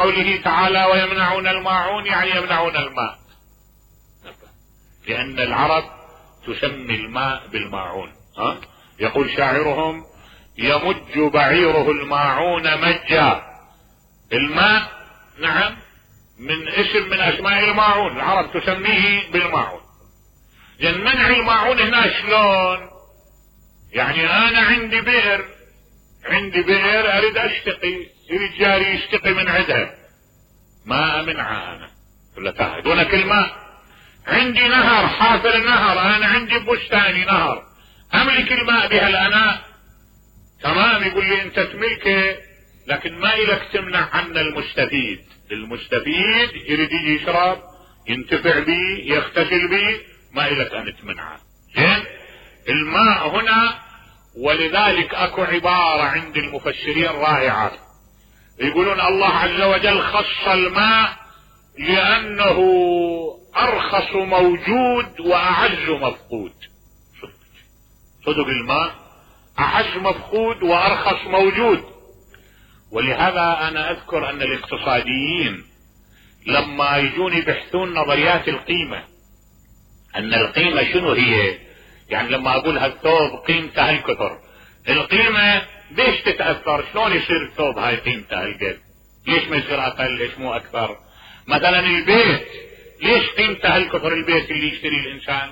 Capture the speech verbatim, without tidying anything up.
قوله تعالى ويمنعون الماعون يعني يمنعون الماء، لأن العرب تسمي الماء بالماعون. ها؟ يقول شاعرهم يمج بعيره الماعون مجا. الماء نعم من اسم من اسماء الماعون، العرب تسميه بالماعون. لأن منع الماعون هنا شلون؟ يعني انا عندي بئر، عندي بئر اريد اشتقي، يريد جاري يشتقي من عندها، ما امنعها انا ولا تعهدونك الماء. عندي نهر، حافر نهر، انا عندي بستاني نهر، املك الماء بهالاناء، تمام. يقول لي انت تملكه لكن ما الك تمنع عنا المستفيد. المستفيد يريد يجي يشرب ينتفع بي يغتسل بي، ما الك ان تمنعه. زين الماء هنا، ولذلك اكو عبارة عند المفسرين رائعة، يقولون الله عز وجل خص الماء لانه ارخص موجود واعز مفقود. صدق الماء اعز مفقود وارخص موجود. ولهذا انا اذكر ان الاقتصاديين لما يجون يبحثون نظريات القيمة، ان القيمة شنو هي، يعني لما اقول هالثوب قيمته هالكثر، القيمة ليش تتأثر؟ شلون يصير الثوب هاي قيمته هالقد؟ ليش ما يصير اقل؟ ليش مو اكثر؟ مثلا البيت ليش قيمته هالكثر البيت اللي يشتري الانسان؟